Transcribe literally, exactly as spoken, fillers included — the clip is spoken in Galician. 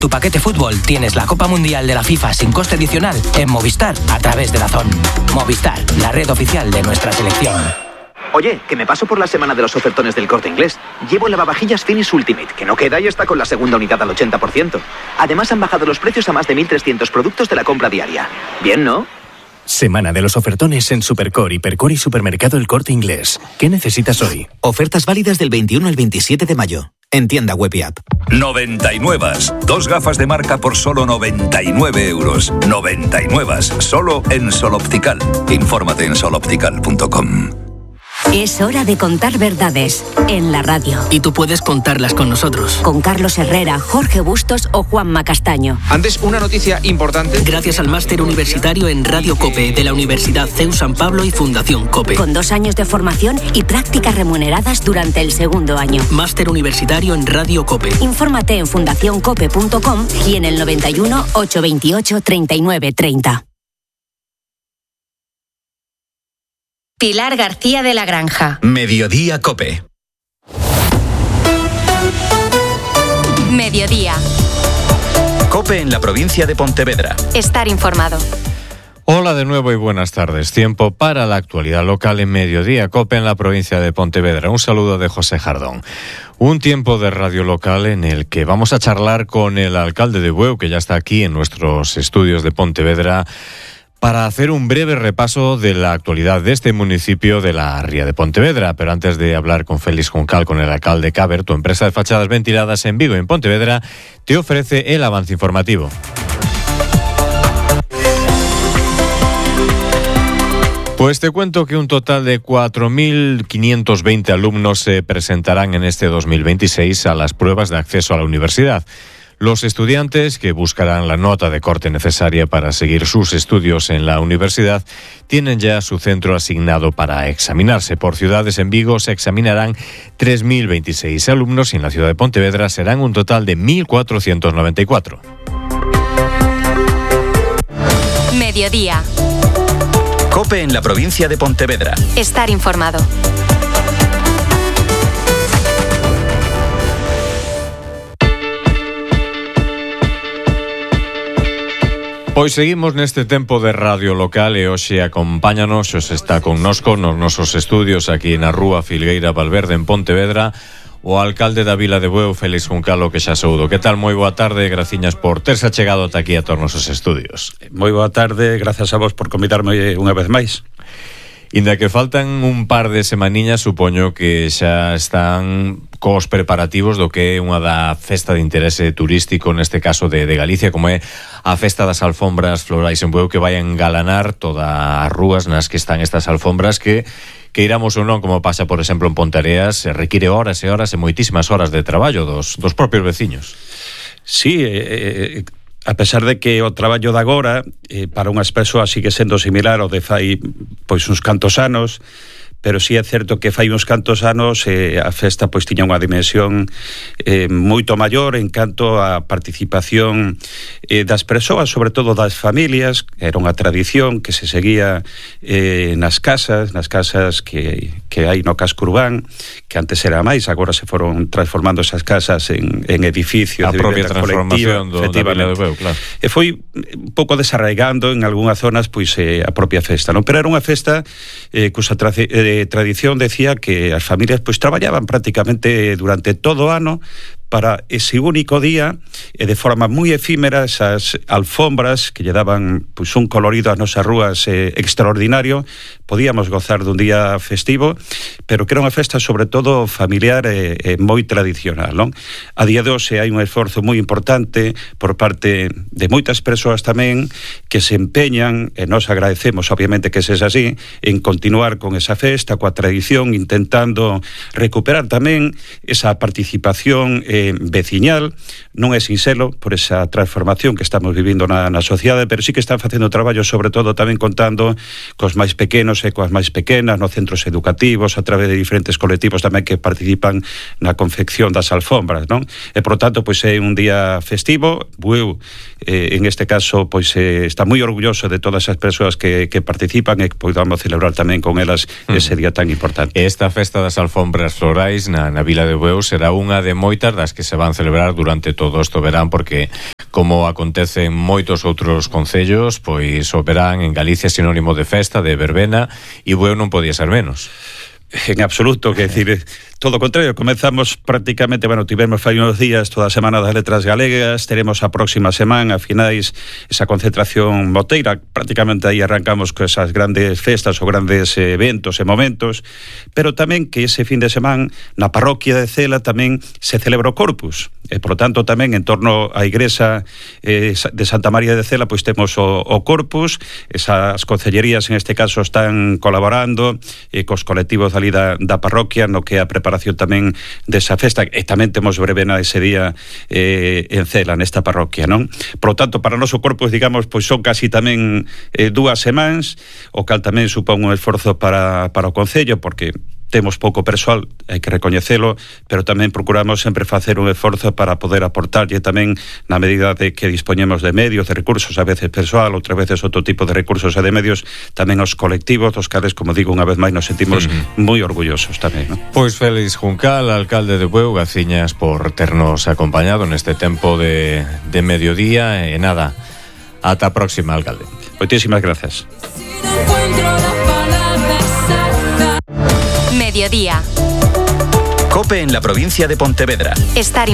tu paquete fútbol tienes la Copa Mundial de la FIFA sin coste adicional en Movistar a través de DAZN. Movistar, la red oficial de nuestra selección. Oye, que me paso por la semana de los ofertones del Corte Inglés. Llevo lavavajillas Finish Ultimate, que no queda y está con la segunda unidad al ochenta por ciento. Además han bajado los precios a más de mil trescientos productos de la compra diaria. Bien, ¿no? Semana de los ofertones en Supercore, Hipercore y Supermercado El Corte Inglés. ¿Qué necesitas hoy? Ofertas válidas del veintiuno al veintisiete de mayo. En tienda web y app. noventa y nueve. Dos gafas de marca por solo noventa y nueve euros. noventa y nueve. Solo en Sol Optical. Infórmate en sol optical punto com. Es hora de contar verdades en la radio. Y tú puedes contarlas con nosotros. Con Carlos Herrera, Jorge Bustos o Juanma Castaño. Antes, una noticia importante. Gracias al máster universitario en Radio COPE de la Universidad C E U San Pablo y Fundación COPE. Con dos años de formación y prácticas remuneradas durante el segundo año. Máster universitario en Radio COPE. Infórmate en fundación cope punto com y en el noventa y uno, ochocientos veintiocho, treinta y nueve treinta. Pilar García de la Granja. Mediodía COPE. Mediodía. COPE en la provincia de Pontevedra. Estar informado. Hola de nuevo y buenas tardes. Tiempo para la actualidad local en Mediodía COPE en la provincia de Pontevedra. Un saludo de José Jardón. Un tiempo de radio local en el que vamos a charlar con el alcalde de Bueu, que ya está aquí en nuestros estudios de Pontevedra, para hacer un breve repaso de la actualidad de este municipio de la Ría de Pontevedra. Pero antes de hablar con Félix Juncal, con el alcalde Caber, tu empresa de fachadas ventiladas en Vigo, en Pontevedra, te ofrece el avance informativo. Pues te cuento que un total de cuatro mil quinientos veinte alumnos se presentarán en este dos mil veintiséis a las pruebas de acceso a la universidad. Los estudiantes que buscarán la nota de corte necesaria para seguir sus estudios en la universidad tienen ya su centro asignado para examinarse. Por ciudades, en Vigo se examinarán tres mil veintiséis alumnos y en la ciudad de Pontevedra serán un total de mil cuatrocientos noventa y cuatro. Mediodía. COPE en la provincia de Pontevedra. Estar informado. Pois seguimos neste tempo de radio local e hoxe acompáñanos, hoxe está connosco nos nosos estudios aquí na Rúa Filgueira Valverde en Pontevedra o alcalde da Vila de Bueu, Félix Juncalo, que xa soudo. Que tal? Moi boa tarde, graciñas por terse achegado ata aquí a todos os nosos estudios. Moi boa tarde, grazas a vos por convidarme unha vez máis. Inda que faltan un par de semaniñas, supoño que xa están cos preparativos do que é unha da festa de interese turístico, neste caso de, de Galicia, como é a festa das alfombras florais en Bueu, que vai a engalanar todas as rúas nas que están estas alfombras que, que iramos ou non, como pasa, por exemplo, en Ponteareas, se require horas e horas e moitísimas horas de traballo dos, dos propios veciños. Sí, eh, eh, a pesar de que o traballo de agora eh, para unhas persoas sigue sendo similar ao de fai pois uns cantos anos, pero sí é certo que fai uns cantos anos eh, a festa pois tiña unha dimensión eh, moito maior en canto a participación eh, das persoas, sobre todo das familias. Era unha tradición que se seguía eh, nas casas, nas casas que, que hai no casco urbán, que antes era máis, agora se foron transformando esas casas en, en edificios a de propia transformación do, da Vila de Bueu, claro. E foi un pouco desarraigando en algunhas zonas pois eh, a propia festa, non? Pero era unha festa eh, cusa trace, eh, tradición decía que as familias pois traballaban prácticamente durante todo o ano para ese único día e de forma moi efímera esas alfombras que lle daban pois un colorido ás nosas rúas eh, extraordinario. Podíamos gozar dun día festivo, pero que era unha festa sobre todo familiar e, e moi tradicional, non? A día de hoxe hai un esforzo moi importante por parte de moitas persoas tamén que se empeñan, e nos agradecemos obviamente que sexa así, en continuar con esa festa, coa tradición, intentando recuperar tamén esa participación eh, veciñal. Non é sinxelo por esa transformación que estamos vivindo na, na sociedade, pero sí que están facendo traballo sobre todo tamén contando cos máis pequenos e coas máis pequenas nos centros educativos, a través de diferentes colectivos tamén que participan na confección das alfombras, non? E por tanto, pois é un día festivo. Bueu, eh, en este caso, pois eh, está moi orgulloso de todas as persoas que, que participan e que podamos celebrar tamén con elas ese día tan importante. Esta festa das alfombras florais na, na Vila de Bueu será unha de moitas das que se van celebrar durante todo este verán, porque como acontece en moitos outros concellos, pois o verán en Galicia sinónimo de festa, de verbena, e Bueu non podía ser menos. En absoluto, que decir, todo o contrario, comenzamos prácticamente, bueno, tivemos fai unos días toda a Semana das Letras Galegas, teremos a próxima semana, a finais, esa concentración moteira, prácticamente aí arrancamos con esas grandes festas ou grandes eventos e momentos, pero tamén que ese fin de semana na parroquia de Cela tamén se celebra o Corpus, e por lo tanto tamén en torno á igrexa eh, de Santa María de Cela pois temos o, o Corpus, esas concellerías en este caso están colaborando eh, cos colectivos ali da, da parroquia no que é a preparación tamén desa festa, e tamén temos verbena ese día eh, en Cela, nesta parroquia, non? Por lo tanto, para o noso Corpus, digamos, pois son casi tamén eh, dúas semanas, o cal tamén supón un esforzo para, para o Concello, porque temos pouco persoal, hai que recoñecelo, pero tamén procuramos sempre facer un esforzo para poder aportarlle tamén na medida de que dispoñemos de medios, de recursos, a veces persoal, outras veces outro tipo de recursos e de medios, tamén os colectivos, dos cales, como digo, unha vez máis nos sentimos uh-huh. moi orgullosos tamén, ¿no? Pois Félix Juncal, alcalde de Bueu, graciñas por ternos acompañado neste tempo de, de mediodía, e nada, ata a próxima, alcalde. Moitísimas grazas. Mediodía. COPE en la provincia de Pontevedra. Estar informado.